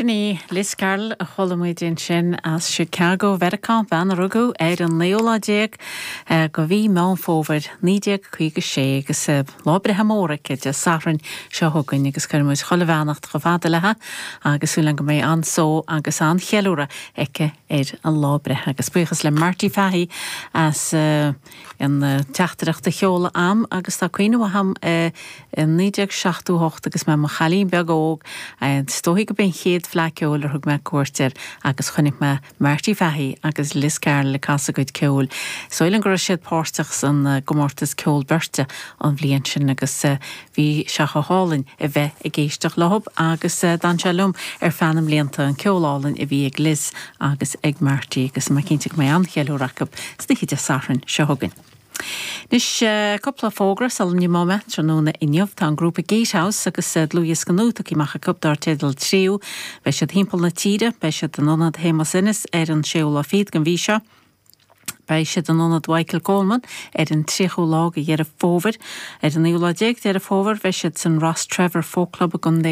Sin í Liz Carroll a chuala muid ansin as Chicago, Mheiriceá, bean a rugadh ar an naoú lá déag de mhí Meán Fómhair 1956 agus lá breithe mór aici Dé Sathairn seo chugainn agus cuireann muid chuile bheannacht chomh fada léi agus súil againn go mbeidh an-só agus an-cheiliúradh aici ar a lá breithe. Agus buíochas le Marty Fahey as an teachtaireacht a sheoladh a'm agus tá cuimhne mhaith a'm i 1978 agus mé i mo chailín beag óg, is dóichí go b'é an chéad Fleadh Ceoil ar thug mé cuairt air agus chonaic mé Marty Fahey agus Liz Carroll ag casadh a gcuid ceoil. Is dóigh liom go raibh siad páirteach san gcomórtas ceol beirte an bhliain sin agus bhí sé chomh hálainn a bheith ag éisteacht leothab agus d'fhan sé liom ar feadh na mblianta, an ceol álainn a bhí ag Liz agus ag Marty agus tá mé cinnte go mbeidh an-cheiliúradh acu san oíche Dé Sathairn seo chugainn. Anois, cúpla fógra sula n-imeoidh mé tráthnóna inniu. Tá an grúpa Gatehouse agus dlúthdhiosca nua tugtha amach acu dar teideal Tríú. Beidh siad thimpeall na tíre, beidh siad in Ionad Shéamus Ennis ar an séú lá fichead den mhí seo. Beidh siad in Ionad Mhichael Coleman ar an tríochú lá de Dheireadh Fómhair. Ar an naoú lá déag Deireadh Fómhair beidh siad san Rostrevor Folk Club i gContae.